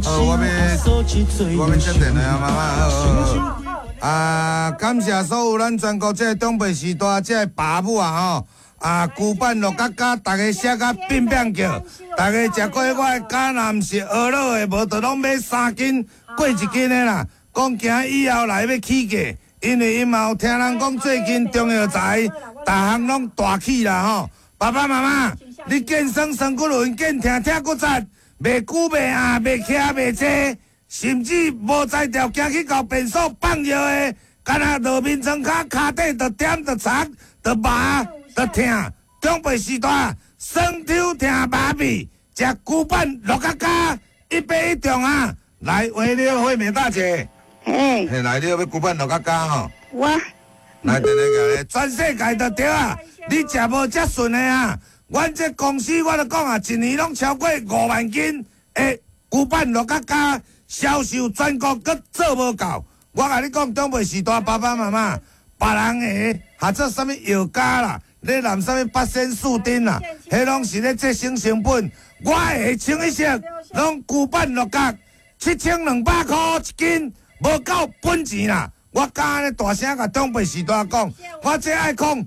好，我欲接電話啊，媽媽，好好好。啊，感謝所有咱全國這个長輩時代這个爸母啊吼，啊，龜板鹿角膠，逐家寫甲變變叫，逐家食過我的膠，若毋是學老的，無就攏買3斤過1斤的啦。講驚以後來欲起價，因為𪜶嘛有聽人講最近中藥材逐項攏大起啦吼。爸爸媽媽，你見酸酸骨輪，見疼疼骨節，袂久袂硬，袂徛袂坐，甚至無才調，驚去到便所放尿的，敢若落眠床跤，跤底就點就擦，就麻就疼。長輩時代，酸抽疼麻痹，食龜板鹿角膠，一買一中啊！來，喂，你好，惠美大姐。嘿。嘿，來，你欲龜板鹿角膠吼。我。來，電話全世界都對啊！你食無遮順的啊？阮這公司我就講啊，一年攏超過5萬斤的龜板鹿角膠。銷售全國閣做無夠，我共你講，長輩時代爸爸媽媽，別人的合做啥物藥膠啦，咧淋啥物八仙四丁啦，彼攏是咧節省成本。我的清一色攏龜板鹿角，7200箍一斤，無夠本錢啦。我敢按呢大聲共長輩時代講，我這愛控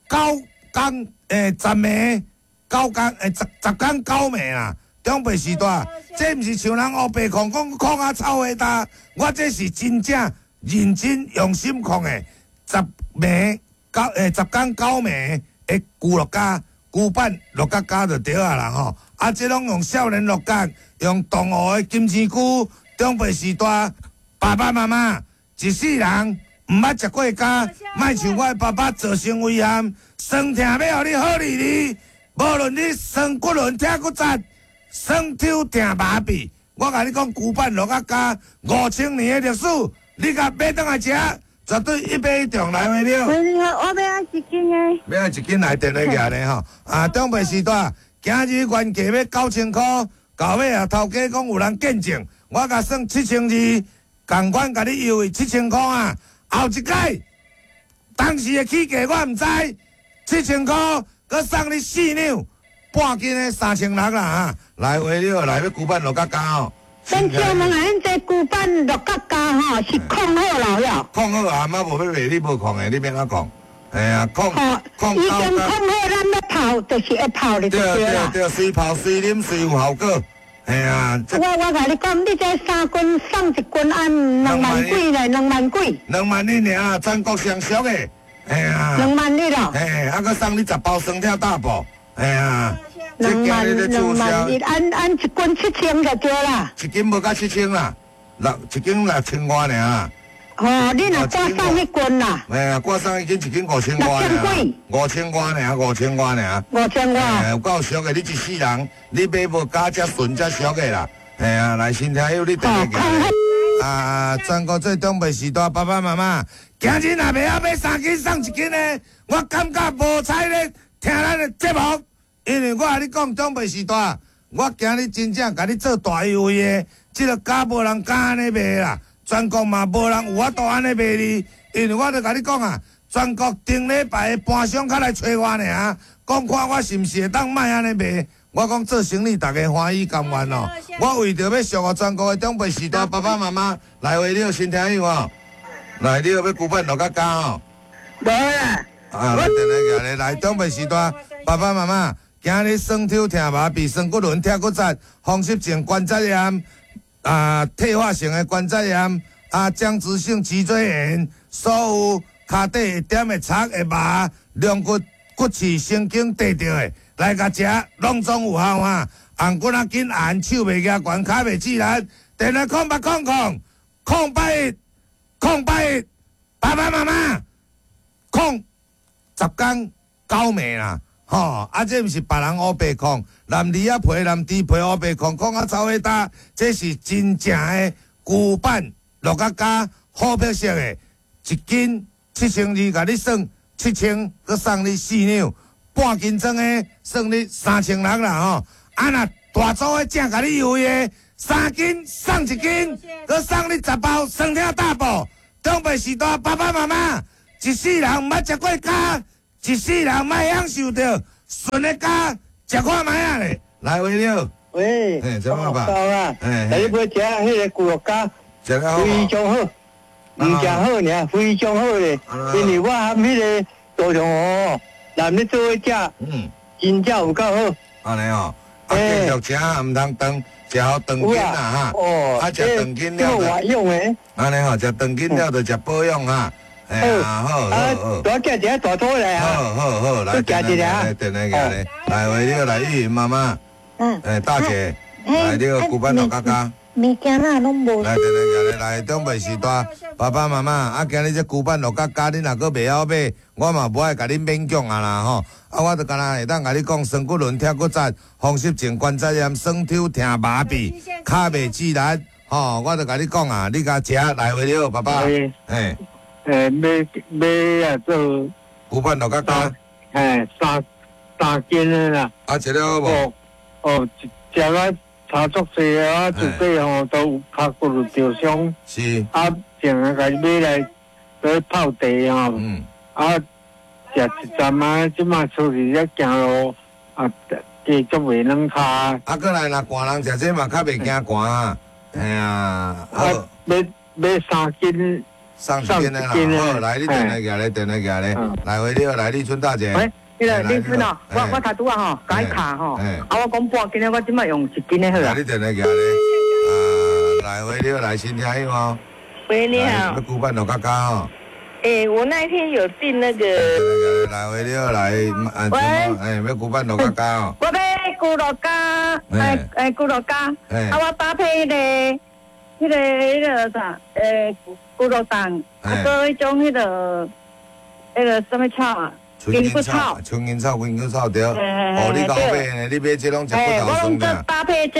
9工10暝，9工10工9暝啦。長輩時代，這毋是像人烏白控，講控啊臭味焦，我這是真正認真用心控的，十暝九10工9暝的龜鹿膠，龜板鹿角膠就對啊啦吼。啊，這攏用少年鹿角，用東湖的金星菇。長輩時代，爸爸媽媽一世人毋捌食過膠，莫像我的爸爸造成遺憾，酸痛欲予你好利利，無論你酸骨輪疼骨節。酸抽疼麻痹，我共你講，龜板鹿角膠5000年的歷史，你共買轉來食，絕對一買一中來袂了。喂，你好，我欲愛一斤的。欲愛一斤來電話寄呢吼，啊，長輩時代，今日原價欲9000箍，到尾啊頭家講有人見證，我共算7200，仝款共你優惠7000箍啊，後一擺，當時的起價我毋知，7000箍，閣送你4兩。半斤的3600啦哈，來話你來欲龜板鹿角膠哦。先請問啊，恁這龜板鹿角膠吼是控好了了？控好啊，嘛無欲賣你無控的，你欲按怎控？嘿啊，控控已經控好，咱欲泡就是會泡的就對啦。對對對，隨泡隨啉隨有效果。嘿啊，我共你講，你這3斤送1斤，按2萬幾咧，2萬幾。2萬一爾，全國上俗的。嘿啊。2萬一咯。嘿，啊，閣送你10包酸痛大補。嘿啊。2萬2萬一，按按一斤7000就對啦。一斤無到七千啦，一斤6000外爾啦。哦，你若掛送一斤啦。嘿啊，掛送一斤一斤5000外爾。5000外爾，5000外爾。5000外。有夠俗的，你一世人，你買無膠遮順遮俗的啦。嘿啊，來新聽友你電話啊，全國最長輩時代爸爸媽媽，今日若袂曉買3斤送1斤的，我感覺無彩咧聽咱的節目。因為我共你講，長輩時代，我今日真正共你做大優惠的，這个膠無人敢按呢賣啦，全國嘛無人有法度按呢賣你。因為我就共你講啊，全國頂禮拜的盤商較來揣我爾，講看我是毋是會當莫按呢賣。我講做生意，逐家歡喜甘願哦。我為著欲祝福全國的長輩時代爸爸媽媽來話，你有新聽友哦，來，你欲龜板鹿角膠哦。無啦。啊，來，來，來，來，長輩時代爸爸媽媽。今日酸抽疼麻痹、酸骨輪疼骨節、風濕性關節炎、啊退化性的關節炎、啊僵直性脊椎炎，所有跤底會點會擦會麻、龍骨骨刺神經短著的，來共食，攏總有效啊！紅骨仔緊按，手袂舉懸，跤袂自然。電話0800 081 081，爸爸媽媽控10工9暝啦。吼，啊，這毋是別人烏白控，南梨仔皮、南豬皮烏白控，控啊臭火焦，這是真正的龜板鹿角膠好特色的，一斤7200，共你算7000，閣送你4兩，半斤裝的算你3600啦吼。啊，若大組的正共你優惠的，3斤送1斤，閣送你10包酸痛大補。長輩時代爸爸媽媽一世人毋捌食過膠。一世人莫享受著順的膠，食看覓仔咧。來，為了。喂，嘿，怎麼辦？到啦，嘿你買食彼个牛肉羹，食了好非常好，毋食好爾，非常好咧。因為我含彼个大腸河南咧做伙食，真正有夠好。按呢哦，啊，繼續食，毋通斷，食好斷筋啦哈。哦，啊，食斷筋了就。養的。按呢吼，食斷筋了就食保養哈。哎呀，好，好，好。大寄一个大肚來啊！好好好，來，來，來，電話過來，來，喂，你好，來，玉雲媽媽。哎，大姐，來，你好，古板老家家。物件哪攏無。來，電話過來，來，長輩時代，爸爸媽媽，啊，今日這古板老家家，你若閣袂曉買，我嘛無愛共恁勉強啊啦吼。啊，我就干焦會當共你講，酸骨輪、痛骨節、風濕症、關節炎、酸抽疼麻痹、跤袂自力，吼，我就共你講啊，你共食來回了，爸爸。哎。買買啊做古板老家家。嘿，三斤的啦。啊，食了好無？哦，食啊差足濟啊，自己吼都有跤骨有著傷。是。啊，淨係共買來來泡茶吼。啊，食一陣啊，這馬出去咧行路啊，加足袂軟跤。啊，閣來若寒人食這嘛較袂驚寒啊。嘿啊。啊，買買三斤。送一斤的啦，好，來你電話寄來，電話寄來，來回你好，來麗春大姐。喂，彼个麗春哦，我頭拄仔吼，共伊卡吼，啊，我講半斤的，我這擺用一斤的好啊。你電話寄來，啊，來回你好，來新聽友哦。喂，你好。欲古板老家家吼。欸，我那一天有訂那個。來回你好，來，喂，欸，欲古板老家家哦。我欲牛肉羹，欸欸，牛肉羹，啊，我搭配彼个，彼个彼个啥，欸。牛肉蛋，啊，閣彼種彼个，彼个啥物草啊？筋骨草。春筋草、筋骨草對。哦，你𠢕買呢？你買這攏食骨頭我攏做搭配這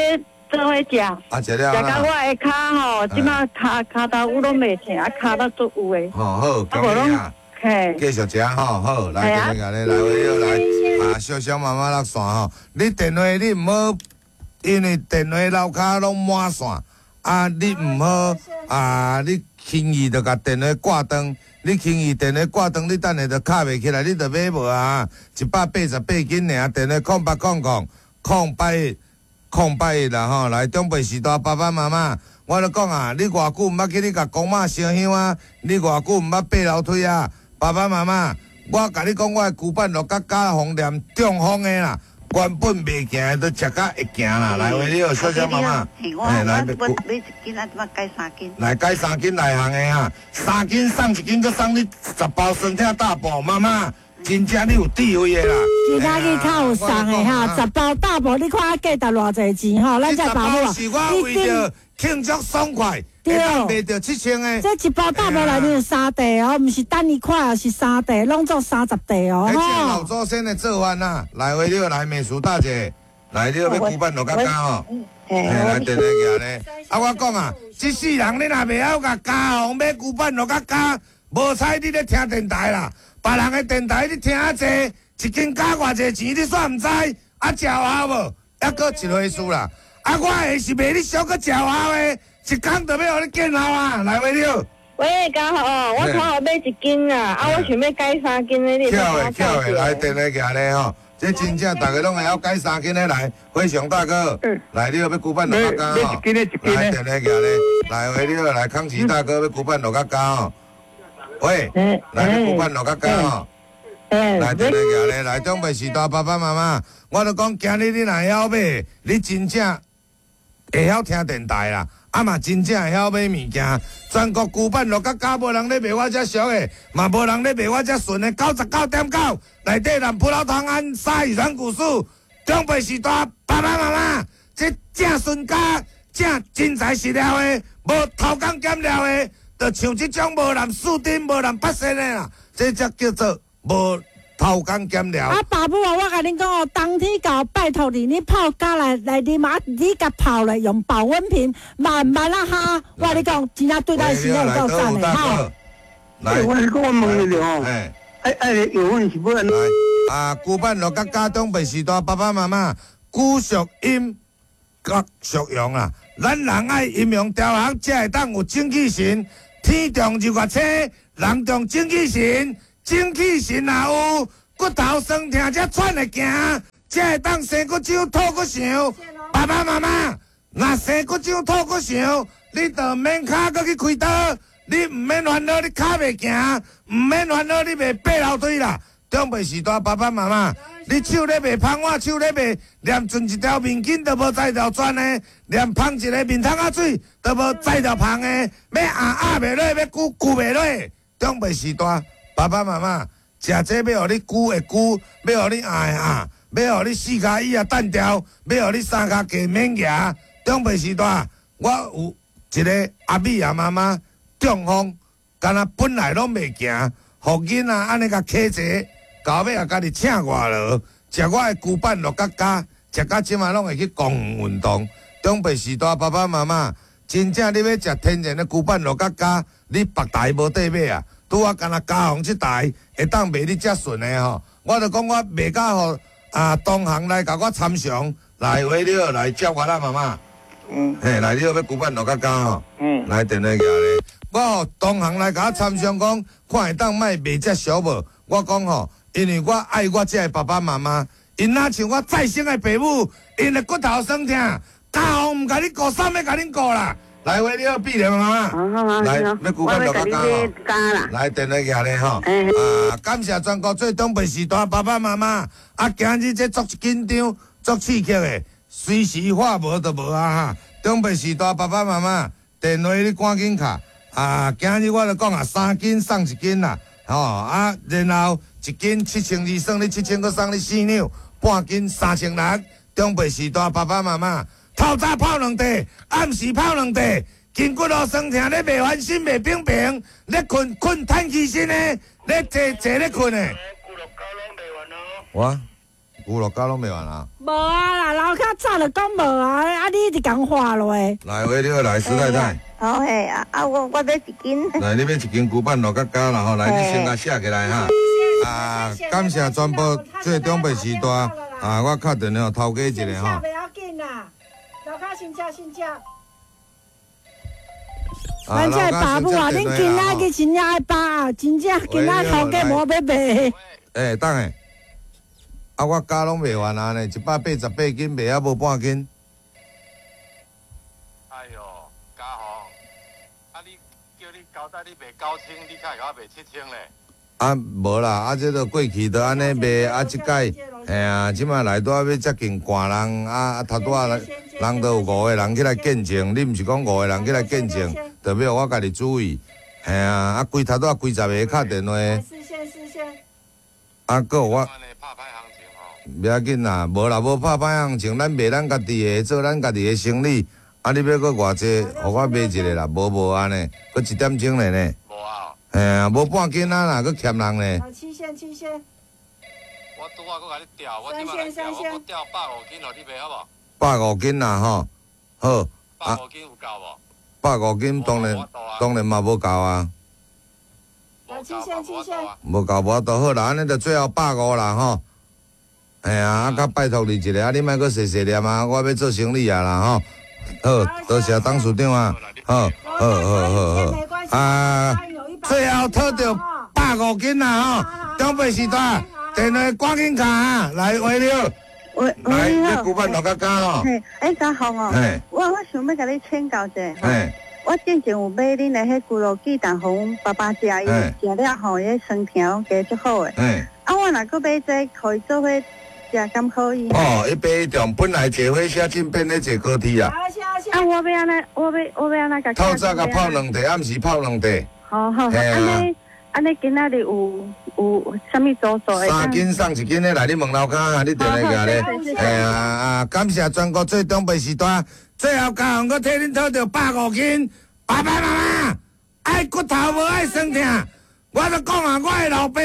做伙食。啊，食了食到我的跤吼，這擺跤跤頭有攏袂疼，啊，跤頭足有的。哦，好，恭喜啊！繼續食吼，好，來，來，來，來，啊，小小媽媽落線吼，你電話你毋好，因為電話樓跤攏滿線，啊，你毋好啊，你。輕易就共電話掛斷，你輕易電話掛斷，你等下就敲袂起來，你就買無啊！188斤爾，電話0800 081 081啦吼，來長輩時代爸爸媽媽，我咧講啊，你偌久毋捌去你共公媽燒香啊？你偌久毋捌爬樓梯啊？爸爸媽媽，我共你講，我的龜板落甲加紅連中風的啦。原本袂行的，都食甲會行啦。來，喂，你好，小小媽媽。我買一斤啊，這擺改三斤。來改三斤內行的哈，三斤送一斤，閣送你10包酸痛大補。媽媽，真正你有智慧的啦。其他去較有送的哈，10包大補，你看價值偌濟錢吼？咱這爸母啊，是我為著慶祝爽快，對，賣著7000的。這一包大補內面有三袋哦，毋是單一塊，是三袋，攏總30袋哦。這老祖先的做法啊，來回你好，來美淑大姐，來你好欲古板落較加吼，來電話寄咧。啊，我講啊，這世人你若袂曉共家紅買古板落較加，無彩你咧聽電台啦，別人的電台你聽啊濟，一斤加偌濟錢你煞毋知，啊，食有效無？抑閣一回事啦。啊，我的是賣你俗閣食有效的，一工就欲予你見效啊！來，喂，你好。喂，家豪，我頭好買一斤啊，啊，我想欲改三斤的，你巧的巧的，來電話寄咧吼，這真正逐家攏會曉改三斤的來，輝祥大哥，來，你好欲古板落較加吼，來電話寄咧，來喂，你好，來康琪大哥欲古板落較加吼，喂，來欲古板落較加吼。來電話寄咧，來長輩時代爸爸媽媽，我就講今日你若會曉買，你真正會曉聽電台啦，啊嘛真正會曉買物件。全國古板落甲加無人咧賣我遮俗的，嘛無人咧賣我遮純的99.9。內底南葡萄糖胺、鯊魚軟骨素，長輩時代爸爸媽媽，這正純加正真材實料的，無偷工減料的，就像這種無人四丁、無人八仙的啦，這才叫做無偷工減料。啊，爸母啊，我共恁講哦，冬天到，拜託你，你泡咖來來啉啊，你共泡咧用保溫瓶，慢慢啊哈。我共你講，真正對咱身體有夠讚的哈。來，我是講我問你哦，哎，藥粉是欲按怎？啊，古板落甲家長輩時代，爸爸媽媽骨屬陰，角屬陽啦。咱人愛陰陽調和，才會當有精氣神。天動日月星，人動精氣神。精氣神若有，骨頭酸痛才喘會行，才會當生骨手、吐骨想。爸爸妈妈，若生骨痒、吐骨肠，你就免跤阁去开刀，你毋免烦恼，你跤袂行，毋免烦恼，你袂爬楼梯啦。长辈时代，爸爸妈妈，你手咧卖芳碗，手咧卖，连存一条面巾都无才调转的，连芳一个面桶仔水都无才调芳的，欲压压袂落，欲揪揪袂落。长辈时代，爸爸妈妈，食这欲予你揪会揪，欲予你压会压，欲予你四跤椅仔单调，欲予你三跤架免行。长辈时代，我有一个阿美仔妈妈中风，敢若本来拢袂行，予囡仔按呢共牵坐。到尾也家己请外劳，食我的龟板落甲加，食甲这马拢会去公园运动。长辈时代，爸爸妈妈真正你欲食天然的龟板落甲加，你别台无得买啊！拄仔干焦嘉宏这台会当卖你遮顺的吼，我就讲我卖甲予啊同行来共我参详，来喂你好，来接我啦妈妈。嘿，来你好，欲龟板落甲加吼。来电话寄咧，我予同行来共我参详讲，看会当莫卖遮俗无？我讲吼。因为我爱我这个爸爸妈妈，𪜶若像我再生的爸母，𪜶的骨头酸痛，家父毋共你顾，啥欲共恁顾啦？来，喂，你好，碧莲妈妈，来，欲龟板落较加吼，来，电话寄咧吼，啊，感谢全国做长辈时代爸爸妈妈，啊，今日这足紧张、足刺激的，随时话无就无啊哈。长辈时代爸爸妈妈，电话你赶紧敲，啊，今日我就讲啊，3斤送1斤啦，吼啊，然后。一斤7200，算你7000，阁送你4两，半斤3600。长辈时代爸爸妈妈，透早泡两块，暗时泡两块，筋骨路酸痛，你袂翻身袂平平，咧困困叹气身的，咧坐坐咧困的。我牛肉胶拢卖完啊？无啊啦，楼跤早就讲无啊，啊你一直共话落。来，喂，你好，来施太太。好嘿，啊我买一斤。来，你买一斤牛板落较加啦吼，来，你先共写起来哈。啊，感谢全部做长辈时代啊！我敲电话头家一个吼。不要紧啦，楼跤先吃先吃。咱这爸母啊，恁囡仔去真正爱爸啊，真正囡仔头家无欲卖。欸，等下，啊，我加拢卖完啊呢，188斤卖啊无半斤。哎哟，嘉宏，啊你叫你交代你卖9000，你较会共我卖7000咧？啊，无啦，啊，这个过去都按呢卖，啊，这届，嘿啊，这马来拄仔欲接近寒人，啊，头拄仔人都有5个人起来见证，你毋是讲5个人起来见证，就欲我家己注意，嘿啊，啊，规头拄仔几十个敲电话，四线四线，啊，阁有我，袂要紧啦，无啦，无拍歹行情，咱卖咱家己的，做咱家己的生意，啊，你欲阁偌济，予我买一个啦，无按呢，阁1点钟咧呢。嘿啊，无半斤啊啦，阁欠人咧。七线七线。我拄仔阁共你调，我这摆来调，我阁调150斤予你卖好无？150斤啦吼，好。150斤有够无？150斤当然嘛无够啊。七线七线。无够无都好啦，按呢就最后150啦吼。嘿啊，啊，较拜托你一下，啊，你莫阁细细念啊，我欲做生意啊啦吼。好，多谢董事长啊。好，好，好，好，好。啊。最后讨著150斤啦吼，长辈时代电话赶紧敲啊，来喂你好，喂，你古板落较加吼。嘿，欸，嘉宏哦，我想欲共你请教者，我之前有买恁的彼牛肉鸡蛋，予阮爸爸食，伊食了吼，伊酸痛拢加足好的。啊，我若阁买这个，予伊做伙食，敢可以？哦，一买一种，本来坐火车进变咧坐高铁啊。啊，我欲按怎，我欲按怎共？透早共泡两块，暗时泡两块。好好，按呢今仔日有啥物组数的？3斤送1斤的来，你问楼跤啊，你电话寄咧。嘿啊啊！感谢全国做长辈时代，最后嘉宏阁替恁讨著150斤。爸爸妈妈爱骨头无爱酸痛，我就讲啊，我的老爸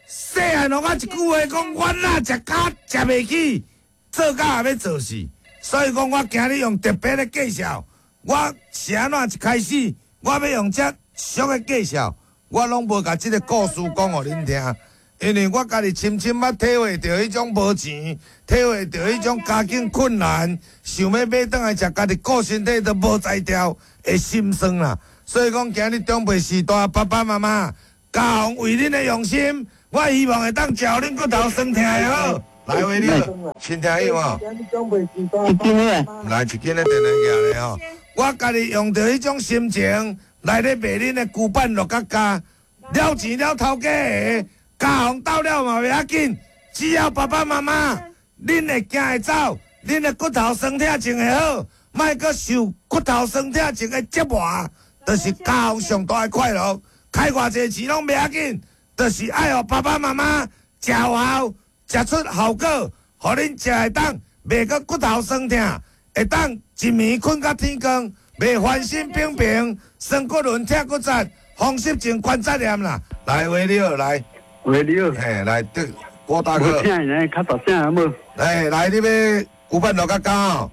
细汉予我一句话讲，我若食跤食袂起，做到也欲做死。所以讲，我今日用特别的介绍，我是按怎一开始，我欲用这俗的介绍，我拢无共这个故事讲予恁听，因为我家己深深捌体会著彼种无钱，体会著彼种家境困难，想欲买转来食，家己顾身体都无才调的心酸啦。所以讲，今日长辈时代，爸爸妈妈，嘉宏为恁的用心，我希望会当食予恁骨头酸痛会好。来喂你，亲听有无？一斤的。来一斤的电话寄来吼，我家己用著彼种心情来咧卖恁的龟板鹿角胶，了钱了头家的，家红到了嘛袂要紧，只要爸爸妈妈，恁会行会走，恁的骨头酸痛症会好，莫阁受骨头酸痛症的折磨，就是家红上大的快乐。开偌济钱拢袂要紧，就是爱予爸爸妈妈食有效，食出效果，予恁食会当袂阁骨头酸痛，会当一暝睏到天光，袂翻身平平，酸骨轮痛骨节，风湿症关节炎啦。来，喂你好，来，喂你好，嘿，来，对，郭大哥，我听你较大声好无？哎，来，你欲古板落较高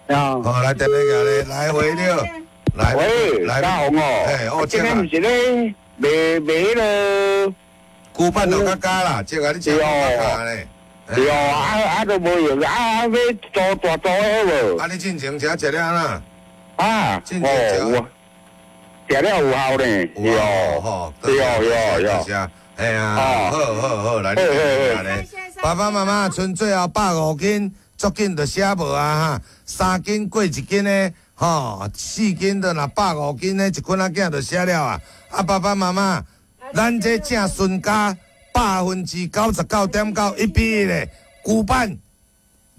哦。好，来电话过来，来喂你好，来，喂，来，嘉宏哦，哎，哦，这个毋是咧卖卖彼个古板落较加啦，这个你食较加咧。对哦，啊都无用，啊欲做大做的无？啊，你进前食食了啦？啊，进前食食了有效呢，有吼，对对对，哎呀，好好好，来，你来，爸爸妈妈賰最后150斤，足紧就写无啊哈，3斤过1斤的，吼，4斤就若150斤的，一捆仔囝就写了啊。啊，爸爸妈妈，咱这正孙家99.9%一比一的龟板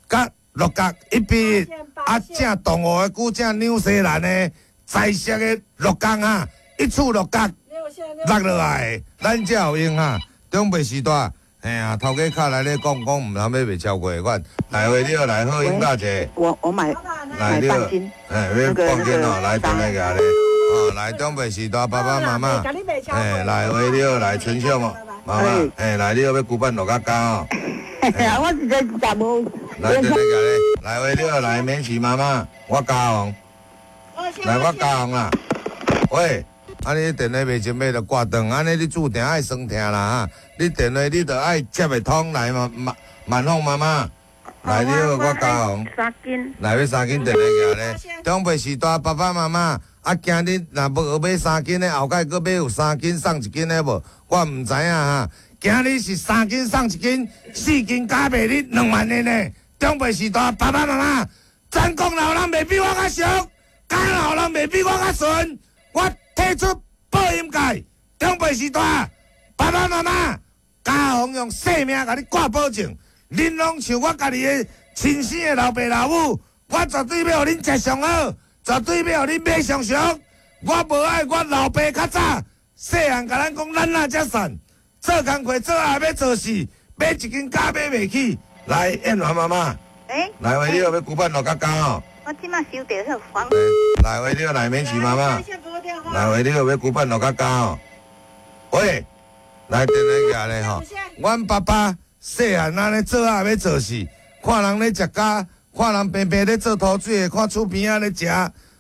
佮鹿角1比1，啊，正动物的龟，正纽西兰的彩色的鹿角啊，一处鹿角落落来，咱才有用啊。长辈时代，嘿啊，头家卡来咧讲讲，毋通买袂超过款。来位你好，来好，英大姐。我买来买半斤，哎，买半斤哦，来电话过来。哦，来长辈时代，爸爸妈妈，哎，来位你好，来陈秀妈妈，哎，来你好，欲龟板鹿角胶哦。我是在食无。来电话过来，来位你好，来免洗妈妈，我加红。来我加红啦。喂。啊！你电话袂前尾就挂断，按呢你注定爱酸痛啦哈！你电话你著爱接会通来嘛，万凤妈妈，来你好，我嘉宏，三斤，来欲3斤电话寄咧。长辈时代爸爸妈妈啊，今日若无买3斤的，后盖阁买有3斤送1斤的无？我毋知影哈。今日是3斤送1斤，4斤加卖你2万的呢。长辈时代爸爸妈妈，咱国老人袂比我较俗，家老人袂比我较顺，我。提出报音界，长辈时代，爸爸妈妈，家宏用性命共你挂保证，恁拢像我家己的亲生的老爸老母，我绝对欲予恁食上好，绝对欲予恁买上俗。我无爱我老爸较早细汉共咱讲，咱哪遮散，做工课做啊欲做事，买一斤胶买袂起。来，燕华妈妈，来喂，你好，欲龟板鹿角胶哦。我这马收到彼黄。来喂，你好，来免洗妈妈。来喂，你好，欲龟板鹿角胶哦。喂，来电话寄来吼。阮爸爸细汉安呢做啊欲做事，看人咧食胶，看人平平咧做土水的，看厝边仔咧食，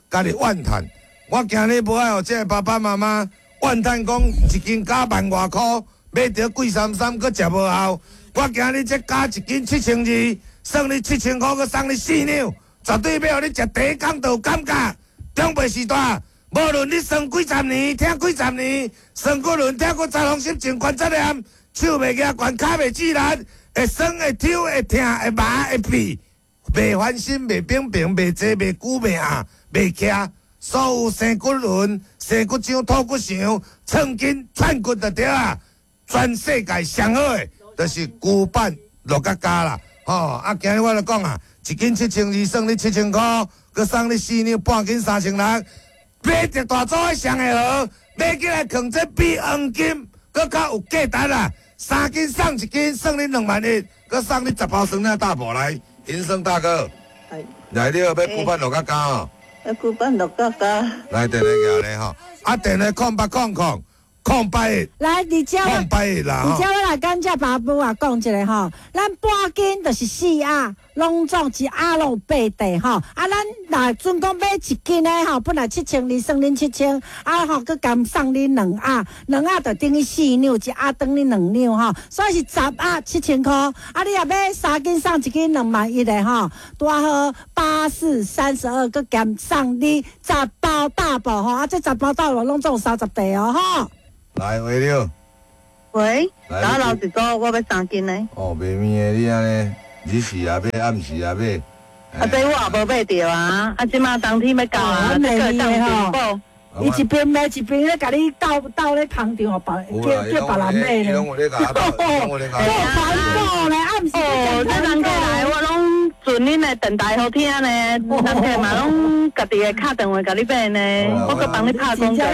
家己怨叹。我今日无爱予这个爸爸妈妈怨叹，讲一斤胶1万外箍，买著贵三三，阁食无效。我今日这胶1斤7200，算你7000箍，阁送你4两。绝对欲予你食第一工就有感觉。长辈时代，无论你酸几十年，疼几十年，酸骨轮疼骨节风湿症关节炎，手袂举悬，跤袂直力，会酸会抽会疼会麻会痹，袂翻身袂平平，袂坐袂久袂压袂徛，所有生骨轮、生骨浆、吐骨肠、寸筋、串骨就对啊。全世界上好的，就是龟板鹿角胶啦。吼，啊，今日我就讲啊。1斤7200，算你7000箍，阁送你4两，半斤3600。买一大组的上会好，买起来囥这比黄金阁较有价值啦。3斤送1斤，算你2万1，阁送你10包酸奶大补来。银生大哥，来你好，欲龟板鹿角胶哦。龟板鹿角胶。来电话寄来吼，啊电话0800 081，来，而且我，081啦，而且我来感谢爸母啊，讲一下吼，咱半斤就是4盒，拢总一盒拢有8块吼。啊，咱若准讲买1斤的吼，本来7200，算恁7000，啊吼，阁含送恁2盒，2盒就等于4两，一盒等于2两吼，所以是10盒7000箍。啊，你若买3斤送1斤2万1的吼，拄好8432，阁含送你10包大宝吼，啊，这10包大宝拢总有30块哦吼。来，喂你好。喂，我留一组，我欲3斤的。哦，袂面的你按呢，日时也买，暗时也买。啊，这我也无买著啊，啊，这马冬天欲到啊，这个当进补。伊一边买一边咧，共你斗斗咧捧场，予别叫别人买咧。做团购咧，暗时哦，这人客来，我拢准恁的电台好听呢，人客嘛拢家己会敲电话共你买呢，我阁帮你拍广告呢。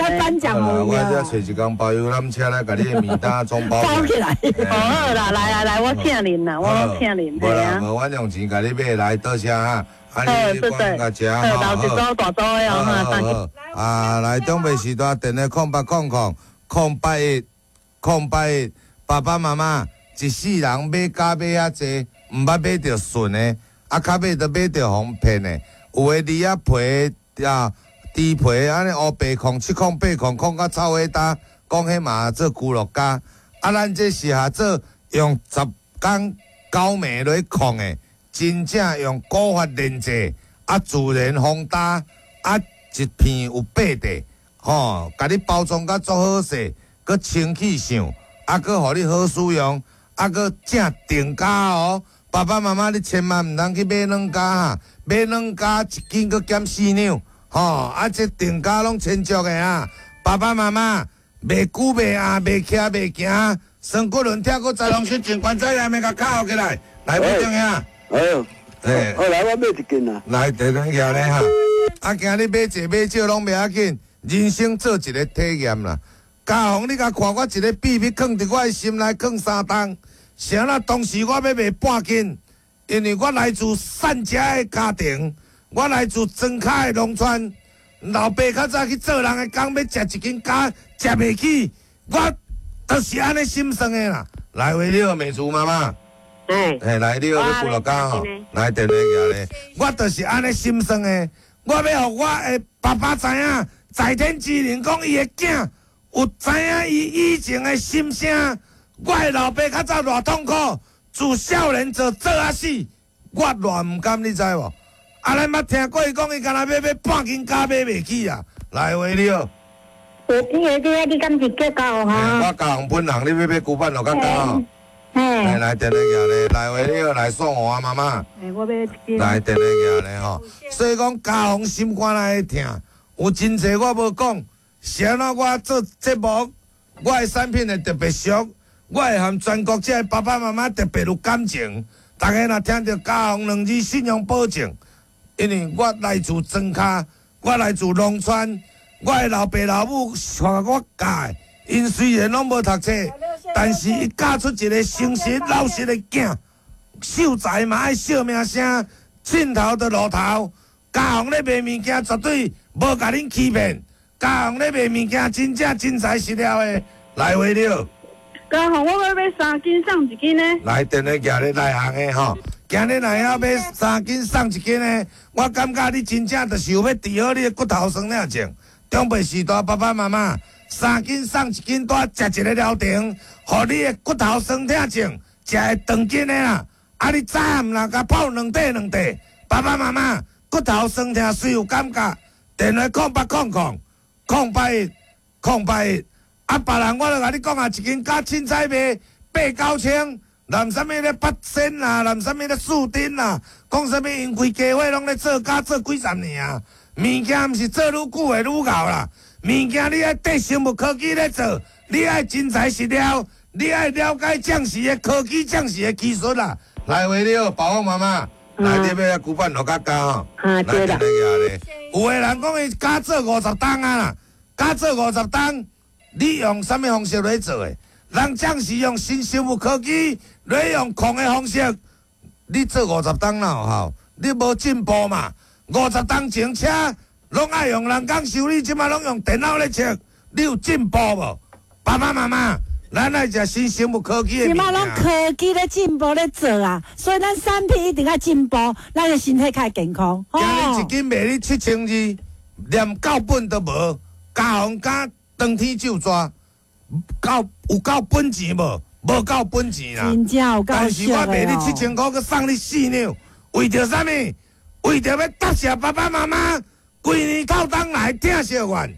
我这揣一工包邮缆车来，共你的名单总包包起来。好啦，来来来，我请恁啦，我拢请恁。无啦，无，我用钱共你买来，多谢哈。啊，你管甲食吼，好。留一组大组的哦，哈。啊，来长辈时代电话0800 081 081，爸爸妈妈一世人买胶买遐济，毋捌买著顺的，啊，较尾都买著予人骗的。有的鱼仔皮啊，猪皮按呢乌白控、七控、八控，控甲臭火焦，讲彼嘛做牛肉胶。啊，咱这是下做用10工九暝来控的。真正用古法炼制，啊，自然风焦，啊，一片有8块，吼，共你包装甲足好势，阁清气上，啊，阁予你好使用，啊，阁正定价哦。爸爸妈妈，你千万毋通去买软胶哈，买软胶一斤阁减4两，吼，啊，这定价拢千足的啊。爸爸妈妈，袂久袂暗，袂徛袂行，双骨轮拆骨再龙失情关节炎，共敲起来，来，不中呀。哎呦，哎，好来，我买一斤啊。来，地轮徛咧哈。啊，今日买济买少拢袂要紧，人生做一个体验啦。家宏，你共看我一个秘密，藏伫我的心内，藏3冬。啥啦？当时我欲卖半斤，因为我来自善家的家庭，我来自庄跤的农村，老爸较早去做人的工，欲食一斤胶，食袂起，我就是按呢心酸的啦。来，为了美珠妈妈。嘿，来，你好，你牛肉胶吼，来电话寄咧。我就是按呢心酸的，我欲予我的爸爸知影，在天之灵讲伊的囝有知影伊以前的心声。我的老爸较早偌痛苦，自少年做做啊死，我偌毋甘，你知无？啊，咱捌听过伊讲，伊敢若欲买半斤胶买袂起啊。来，喂，你好。有见的你，你敢是叫高哈？我高雄本人，你欲买牛板落较高吼。来来，电话寄咧，来喂，你好，来送我啊，妈妈。我欲一斤。来电话寄咧吼，所以讲家宏心肝内会疼，有真济我无讲，是按怎我做节目，我的产品会特别俗，我会和全国这个爸爸妈妈特别有感情。大家若听著家宏两字信用保证，因为我来自庄跤，我来自农村，我的老爸老母带我教的，𪜶虽然拢无读册。但是伊教出一个诚实老实的囝，秀才嘛爱惜名声，凊头就露头。家宏咧卖物件，绝对无共恁欺骗。家宏咧卖物件，真正真材实料的。来话了。家宏，我欲买3斤送1斤呢。来，电话寄咧内行的吼，今日若要买3斤送1斤的，我感觉你真正就是有欲治好你的骨头酸痛症。长辈时代爸爸妈妈。3斤送1斤，拄食一个疗程，予你的骨头酸痛症食会长筋的啦。啊，你早暗若共泡2块2块，爸爸妈妈骨头酸痛虽有感觉，电话0800 081 081。啊，别人我著共你讲啊，一斤胶凊彩卖8、9千，连啥物咧8仙啦，连啥物咧四丁啦，讲啥物𪜶规家伙拢咧做胶做几十年啊，物件毋是做愈久会愈𠢕啦。物件你爱缀生物科技咧做，你爱真材实料，你爱了解匠师的科技、匠师的技术啦。来，喂，你好，宝宝妈妈，来，你欲牛板落较胶吼？啊，对啦。有的人讲伊胶做50冬啊啦，胶做50冬，你用啥物方式来做的？人匠是用新生物科技来用控的方式，你做50冬哪有效？你无进步嘛？50冬前车。拢爱用人工修理，这马拢用电脑咧测，你有进步无？爸爸妈妈，咱爱食新生物科技的。这马拢科技咧进步咧做啊，所以咱产品一定爱进步，咱的身体较会健康。今日一斤卖你7200，连够本都无，加红加当天就抓，够有够本钱无？无够本钱啦。真正有够。但是我卖你7000块，阁送你4两，为著啥物？为著欲答谢爸爸妈妈。规年透冬来疼惜阮，予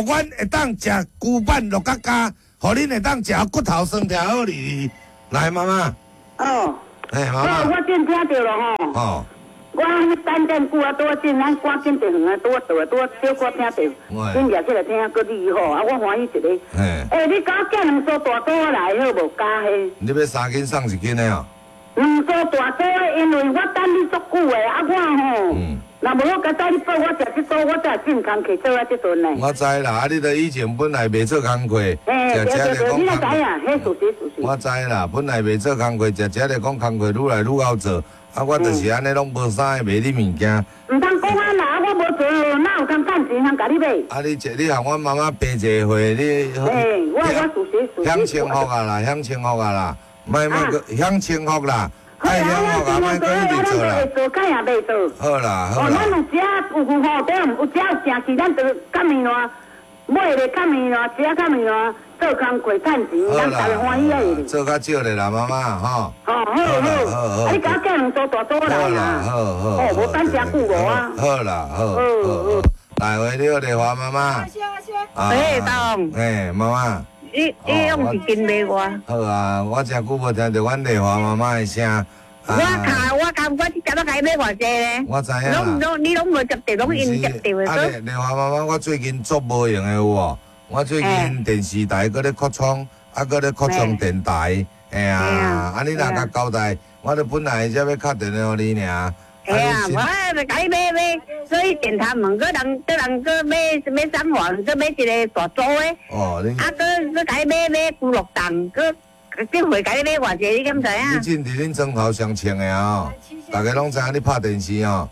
阮会当食牛板落甲胶，予恁會當食骨頭酸痛好哩。來，媽媽。哦。哎，媽媽。我正聽著了吼。哦。我等遮久啊，拄仔正咱趕緊著遠啊，拄仔倒來，拄仔小可聽著，緊掠起來聽，閣你吼，啊，我歡喜一個。欸，你共我寄兩束大組仔來好無？加彼。你欲三斤送一斤的哦？兩束大組的，因為我等你足久的，啊，我吼，若無好佳哉你報我食這組，我才會進工課做啊這陣呢。我知啦，啊，你著以前本來袂做工課，食食就講。你哪知影？彼事實事實。我知啦，本來袂做工課，食食就講工課愈來愈𠢕做。啊，我就是按呢，攏無啥的賣你物件。毋通講啊啦，我無做，哪有通趁錢通共你買？啊，你這你和阮媽媽辦一個會，你。欸，我事實事實。享清福啊啦，享清福啊啦，莫莫閣享清福啦，愛享福啊，莫閣一直做啦。做較也袂做。好啦好啦。哦，咱有食有有吼，對，有食有食去，咱就較麵爛，買咧較麵爛，食較麵爛。做工課趁錢，咱大家歡喜啊！做較少咧啦，媽媽吼。哦，好好好，啊，你共我寄兩束大組來啦。好好。哦，無等誠久無啊。好啦，好。好好。來，喂，你好，麗華媽媽。欸，大王。欸，媽媽。你攏是真賣我。好啊，我誠久無聽著阮麗華媽媽的聲。我卡我感覺這只要共伊買偌濟咧？我知影。攏攏你攏無接著，攏𪜶接著的。啊，麗華媽媽，我最近足無閒的有無？我最近電視台閣咧擴充，啊，閣咧擴充電台，嘿啊，啊，你若共交代，我著本來才欲敲電話予你爾。嘿啊，我著共伊買買，所以電台問閣人，閣人閣買買三環，閣買一個大組的。哦，你。啊，閣閣共伊買買牛肉丼，閣這回共你買偌濟，你敢知影？你真佇恁床頭上穿的哦，逐家攏知影你拍電視哦。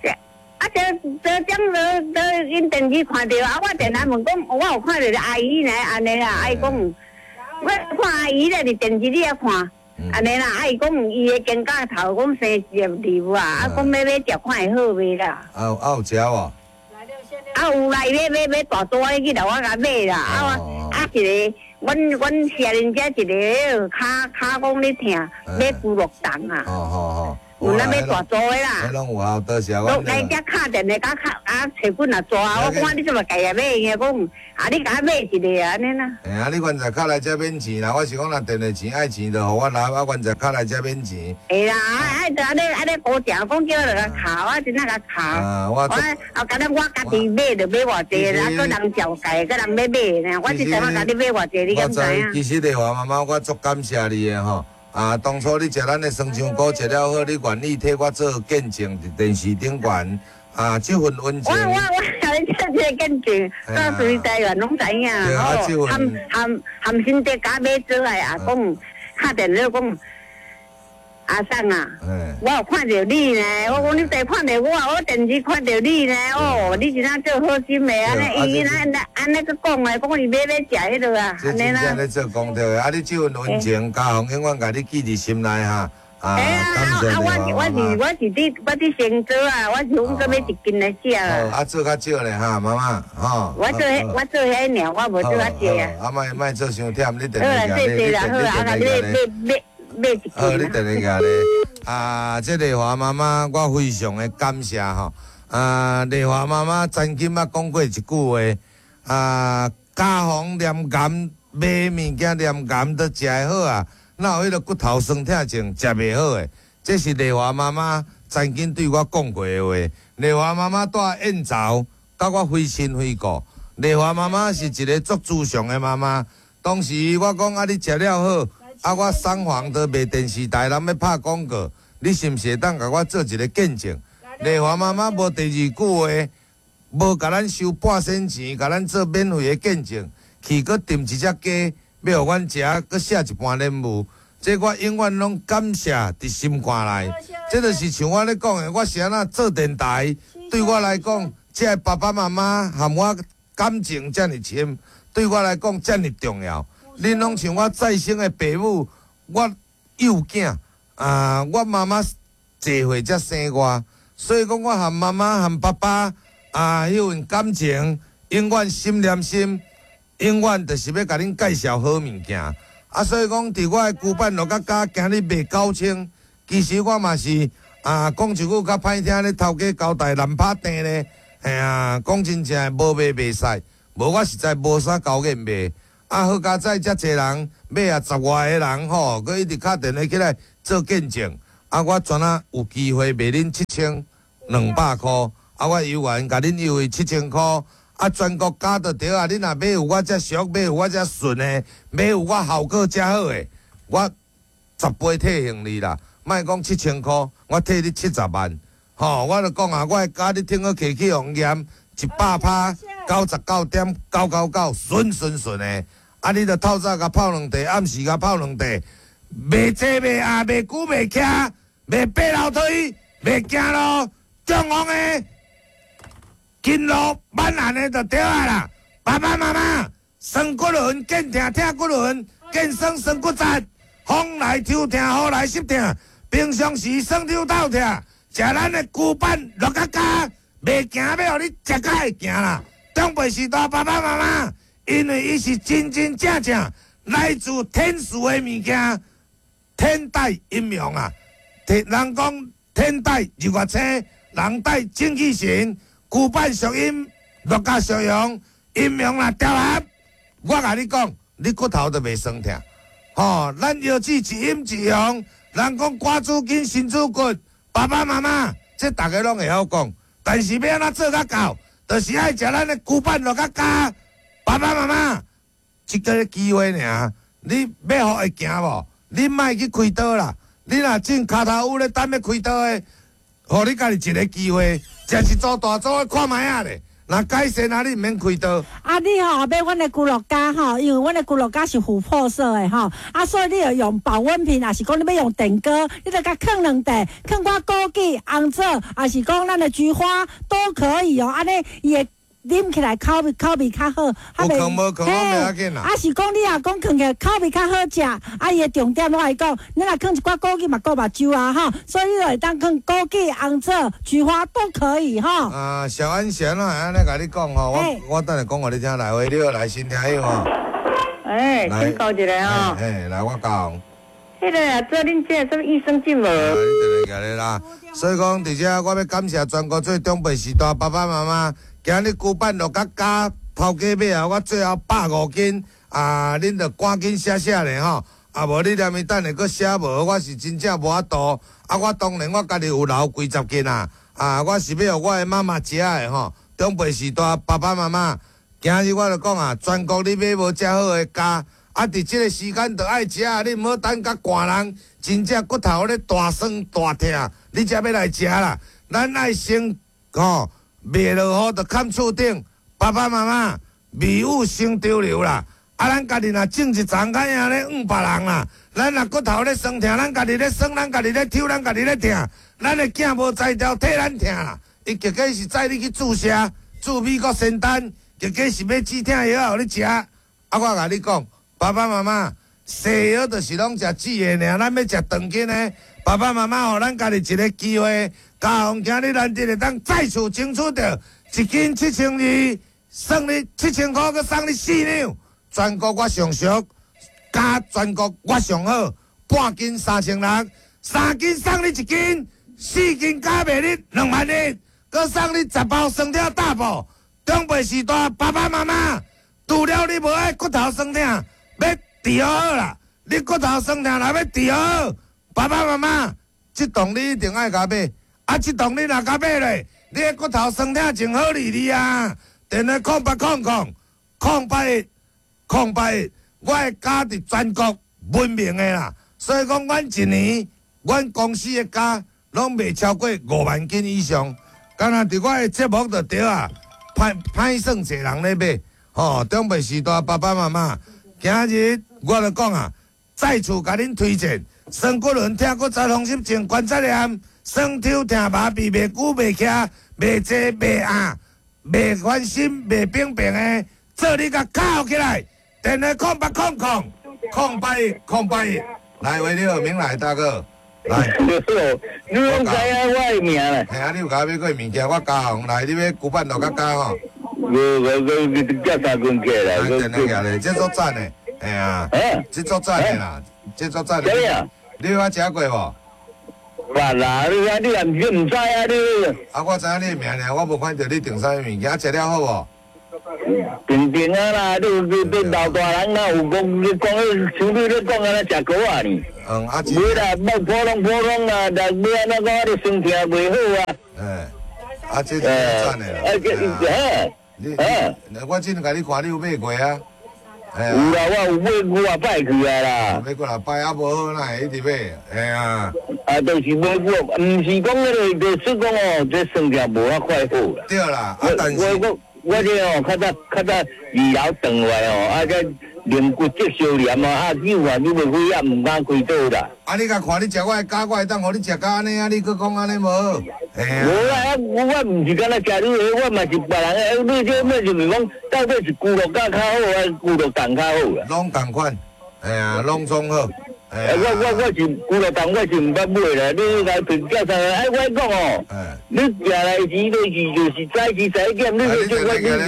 啊！這這種都都𪜶電視看著啊！我電來問講，我有看著阿姨呢，按呢啦，啊伊講，我看阿姨咧佇電視裡遐看，按呢啦，啊伊講伊的肩胛頭講生一粒瘤啊，啊講欲買食看會好袂啦？啊有啊有食無？啊有啦，伊欲買買大組的去來我共買啦，啊我啊一個，阮阮社恁遮一個跤跤講咧疼，買牛肉丼啊。哦哦哦。有咱欲大組的啦，彼攏有效，多謝我。來遮敲電話，共敲啊，揣棍也抓，我看你這麼家己買，伊講啊，你共我買一个按呢啦。嘿啊，你原來敲來遮免錢啦，我是講若電話錢愛錢，就予我拿，啊，原來敲來遮免錢。會啦，啊啊，就按呢按呢高正講叫我共敲，我真正共敲。啊，我。我啊，敢若我家己買就買偌濟啦，閣人照計，閣人欲買呢，我這陣我共你買偌濟，你敢知影？其實麗華媽媽，我足感謝你的吼。啊！當初你食咱的酸漿菇食了好，你願意替我做見證佇電視頂懸啊！這份溫情，我我我共你做這個見證，到時台灣攏知影吼。含含含新竹共買做來啊，講敲電話講阿桑啊，我有看著你呢。我講你佇看著我，我電視看著你呢。哦，你是哪做好心的按呢？伊按呢按呢閣講的，講伊欲欲食彼落啊，這真正咧做功德的，啊！你這份溫情，家紅永遠共你記佇心內哈。啊，啊！我是我是我是佇我佇成都啊，我是講閣買一斤來食啊。啊，做較少咧哈，媽媽，吼。我做彼我做彼爾，我無做較濟啊。啊，莫莫做傷忝，你定定好啦，謝謝啦，好啦，啊，你買買。好，你等一下咧。啊，這麗華媽媽，我非常的感謝吼。啊，麗華媽媽曾經捌講過一句話，啊，家防黏癌買物件黏癌都食會好啊，哪有彼个骨頭酸痛症食袂好的？這是麗華媽媽曾經對我講過的話。麗華媽媽蹛燕巢，佮我非親非故。麗華媽媽是一个足慈祥的媽媽。當時我講啊，你食了好。啊！我三房都賣電視台，人欲拍廣告，你是毋是會當共我做一个見證？麗華媽媽無第二句話，無共咱收半仙錢，共咱做免費的見證，去閣訂一隻雞，欲予阮食，閣寫一盤蓮霧，這我永遠攏感謝佇心肝內。這就是像我咧講的，我是按怎做電台，對我來講，這个爸爸媽媽和我感情遮爾深，對我來講遮爾重要。恁攏像我再生的爸母，我幼囝啊，我媽媽濟歲才生我，所以講我和媽媽和爸爸啊，彼份感情永遠心連心，永遠就是欲共恁介紹好物件。啊，所以講佇我的龜板落甲加，今日賣9000，其實我嘛是啊，講一句較歹聽咧，頭家交代難拍定咧，嘿啊，講真正的無賣袂使，無我實在無啥交癮賣。啊，好佳哉，遮濟人買啊十外个人吼，閣一直敲電話起來做見證。啊，我全啊有機會賣恁7200箍，啊，我猶原共恁優惠7000箍。啊，全國加就對啊！你若買有我遮俗，買有我遮順的，買有我效果遮好的，我10倍退還你啦。莫講7000箍，我退你70萬。吼，我就講啊，我的膠你聽好提起用驗100%，99.999，順順順的。啊，你著透早共泡兩塊，暗時共泡兩塊，袂坐袂壓，袂久袂徛，袂爬樓梯，袂行路，中風的。筋路挽岸的就對啊啦，爸爸媽媽，酸骨輪見疼疼骨輪，見酸酸骨節，風來抽疼，雨來濕疼，平常時酸抽透疼，食咱的龜板六角膠，袂行欲予你食甲會行啦。長輩時代爸爸媽媽，因為伊是真真正正來自天賜的物件，天帶陰陽啊，人講天帶日月星，人帶精氣神。龜板屬陰，六甲屬陽，陰陽若調和，我共你講，你骨頭就袂酸疼。吼，咱腰子一陰一陽，人講肝主筋，心主骨，爸爸媽媽，這逐家攏會曉講，但是欲按怎做較到，就是愛食咱的龜板六甲膠。爸爸媽媽，這個機會爾，你欲予會行無？你莫去開刀啦，你若種跤頭趺咧等欲開刀的，予你家己一個機會。食一組大組的看覓仔咧，若改善啊，你毋免開刀。啊，你吼買阮的龜鹿膠吼，因為阮的龜鹿膠是琥珀色的吼，啊，所以你著用保溫瓶，抑是講你欲用電鍋，你著共囥兩塊，囥寡枸杞、紅棗，抑是講咱的菊花都可以哦，按呢伊會啉起來口味較好。有囥無囥攏袂要緊啦。啊，是講你若講囥起來口味較好食，啊，伊的重點我來講，你若囥一寡枸杞嘛，顧目睭啊吼，所以你就會當囥枸杞、紅棗、菊花都可以吼。啊，小安賢啊，按呢共你講吼，我等下講予你聽，來，喂，你好，來先聽伊吼。欸，請教一下吼。欸，來我講。彼個啊，做恁這個啥物益生菌無？啊，你特別來啦。所以講，佇遮我欲感謝全國做長輩時代爸爸媽媽。今日龜板六甲膠頭家尾啊，我最後150斤啊，恁著趕緊寫寫咧吼，啊無你連伊等下閣寫無，我是真正無法度。啊，我當然我家己有留幾十斤啊，啊，我是欲予我的媽媽食的吼。長輩時代爸爸媽媽，今日我著講啊，全國你買無遮好的膠，啊，佇這個時間著愛食，你毋好等甲寒人，真正骨頭咧大酸大疼，你才欲來食啦。咱愛先吼。袂落雨就崁厝頂，爸爸媽媽未雨先潮流啦。啊，咱家己若種一叢，較贏咧怨別人啦。咱若骨頭咧酸疼，咱家己咧酸，咱家己咧抽，咱家己咧疼。咱的囝無才調替咱疼啦。伊結果是載你去注射，注美國仙丹，結果是欲止疼藥予你食。啊，我共你講，爸爸媽媽，西藥就是攏食止的爾，咱欲食長緊的。爸爸媽媽，予咱家己一個機會。嘉宏今日難得會當再次爭取著一斤7200，算你7000箍，閣送你4兩。全國我上俗，加全國我上好，半斤3600，3斤送你1斤，4斤加賣你2萬1，閣送你10包酸痛大補。長輩時代，爸爸媽媽，除了你無愛骨頭酸痛，欲治好啦。你骨頭酸痛若欲治好，爸爸媽媽，這檔你一定愛共買。啊！這檔你若共買咧，你的骨頭酸痛真好理你啊！電話0800 081 081，我的膠佇全國聞名的啦。所以講，阮一年，阮公司的膠攏賣超過5萬斤以上。敢若佇我的節目就對啊，歹算濟人咧買。吼，長輩時代爸爸媽媽，今日我就講啊，再次共恁推薦，酸骨輪、疼骨節、風濕症、關節炎。酸抽疼麻痹，袂久袂徛，袂坐袂壓，袂煩心，袂病病的，做你共敲起來。電話0800 081 081，來，喂，你好，明來大哥，來。你攏知影我的名啦？嘿啊，你有共我買過物件，我嘉宏來，你欲龜板六甲膠吼？無無無，寄三斤過來。電話寄來，這足讚的，嘿啊，這足讚的啦，這足讚的。你有捌食過無？捌啦，你啊，你也毋是毋知啊，你。啊，我知影你的名爾，我無看著你訂啥物物件，食了好無？平平啊啦，你老大人哪有讲？你讲迄像你咧讲按呢食膏仔呢？嗯，啊，袂啦，莫普通普通啦，但欲按怎讲啊？你酸痛袂好啊。哎，啊，这真赞的啦。啊，这嘿，你，我之前共你看，你有买过啊？有啦，我有买几啊摆去啊啦。买几啊摆啊，无好，哪会一直买？嘿啊。啊，就是买过，毋是讲彼个，就是讲哦，这酸痛无遐快好啦。对啦，啊，但是我这哦，较早较早二楼转来哦，啊这淋骨质消炎啊，啊扭啊扭袂开啊，毋敢开刀啦。啊，你共看你食我的胶，我会当予你食甲按呢啊？你阁讲按呢无好？无啦，我毋是干焦食你的，我嘛是别人的。你这物就是讲，到底是牛肉胶较好，还是牛肉冻较好啦？拢仝款，哎呀，拢总好。我是牛肉冻，我是毋捌买啦。你来评价啥？哎，我讲哦，你寄来时就是早时11点，你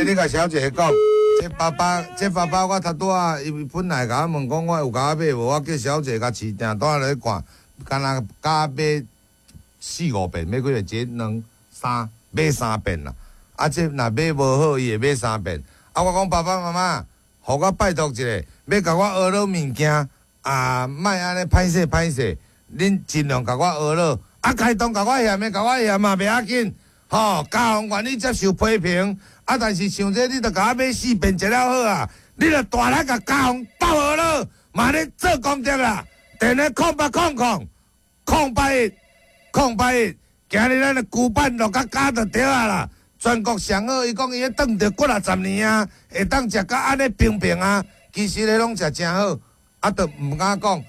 你你共小姐讲，这爸爸这爸爸我头拄仔伊本来共我问讲，我有共我买无？我叫小姐共市订单来看，敢若加买四五遍，买几个？一、两、三，买三遍啦。啊，这若买无好，伊会买三遍。啊，我讲爸爸妈妈，予我拜托一下，欲共我学落物件。啊，莫按呢歹势歹势，恁尽量共我学落。啊，开动共我嫌的，共我嫌嘛袂要紧，吼，家长愿意接受批评。啊，但是像这你著共我买四遍食了好啊，你著大力共家长斗学落，嘛咧做功德啦。电话0800 081 081，今日咱的古板落甲加就对啊啦。全国上好，伊讲伊咧转著几若十年啊，会当食甲按呢平平啊，其实咧拢食诚好。啊，都毋敢讲。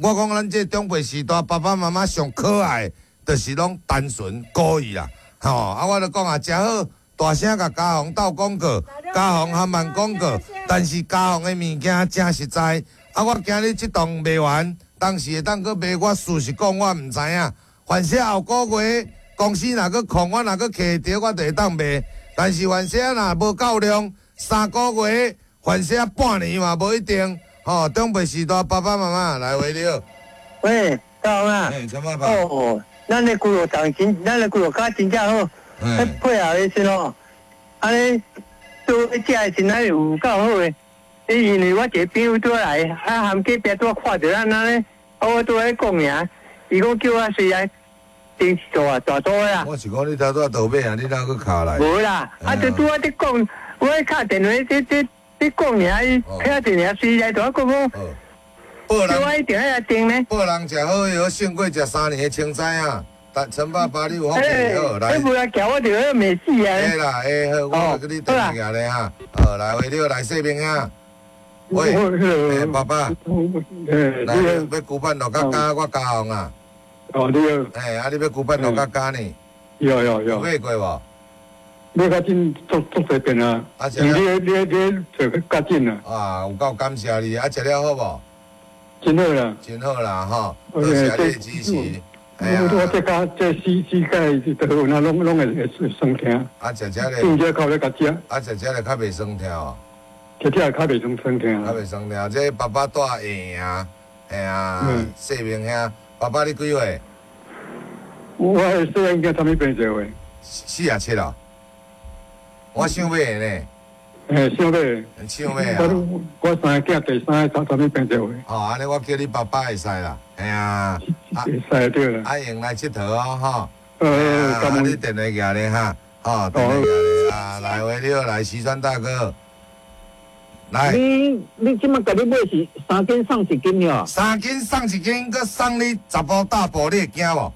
我讲咱这长辈时代，爸爸妈妈上可爱，就是拢单纯古意啦。吼，啊，我就讲啊，诚好，大声共家宏斗广告，家宏含慢广告，但是家宏的物件诚实在。啊，我今日这档卖完，当时会当阁卖，我事实讲我毋知影。凡是后个月公司若阁空，我若阁摕著，我就会当卖。但是凡是若无够量，3个月，凡是半年嘛无一定。哦，长辈时代，爸爸妈妈来回了。喂，大王啊！欸，陈爸爸。哦，咱的牛肉冻真，咱的牛肉胶真正好。欸，配合的时吼，按呢做食的时阵有够好的。因为我一个朋友拄来，啊，含隔壁拄看著咱按呢，啊，我拄咧讲尔，伊讲叫我随来订一组啊，大组的啦。我是讲你头拄仔倒买啊，你哪阁敲来？无啦，啊，就拄仔伫讲，我敲电话这。你讲尔，伊听电话随来，就我讲讲，叫我一定爱来订呢。报人食好，好胜过食3年的青菜啊！但陈爸爸，你有福气好来。你无来叫我就要骂死啊！会啦，会好，我来给你订起来哈。好，来，喂，你好，来说明啊。喂，爸爸，来，欲古板落甲加，我加红啊。哦，你好。哎，啊，你欲古板落甲加呢？有有有。买过无？买较紧，足足济遍啊！你你做较紧啊！啊，有够感谢你啊！食了好无？真好啦！真好啦，吼！多谢你的支持。我这家这膝盖都有那拢会酸痛。啊，食食咧。正只靠咧共食。啊，食食咧较袂酸痛哦。食食较袂酸酸痛。较袂酸痛，这爸爸住下啊，吓啊，细明兄，爸爸你几岁？我细汉应该啥物病做的？47咯。我想买的呢。欸，想买。想买啊！我三个囝，第三个啥物病做的？哦，按呢我叫你爸爸会使啦，嘿啊。会使对啦。啊，用来𨑨迌哦，吼。啊，你电话寄咧哈，吼，电话寄咧啊，来喂，你好，来徐川大哥。来。你这马共你买是3斤送1斤了？3斤送1斤，阁送你10包大包，你会惊无？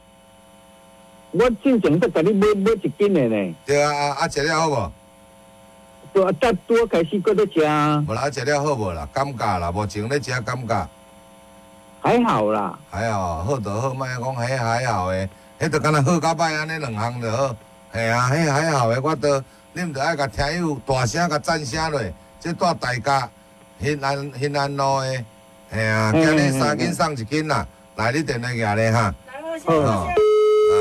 我进前阁共你买1斤的呢。对啊，啊，食了好无？对啊，拄开始阁咧食。无啦，食了好无啦？感觉啦，目前咧食感觉。还好啦。还好，好就好，莫讲彼还好的，彼就敢若好甲歹按呢两项就好。嘿啊，彼还好的，我都恁著爱共听友大声共赞声落，这住大家兴安路的，嘿啊，今日3斤送1斤啦，来你电话寄咧哈。好。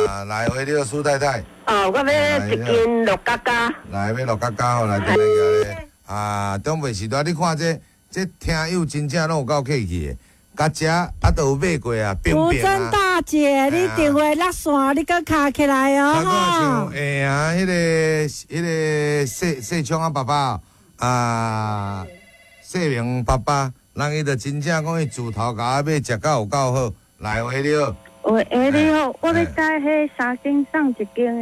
啊，来回你好，苏太太。哦，我欲1斤六角加。来，欲六角加吼，来电话寄咧。啊，长辈时代，你看这听友真正拢有够客气的，共食啊都有买过啊，冰冰啊。吴珍大姐，你电话落线，你阁敲起来哦。像哎呀，彼个细细聪啊爸爸，啊，世明爸爸，人伊就真正講伊自頭到尾食到有夠好。來，喂，你好。喂，欸，你好，我欲改彼三斤送一斤的。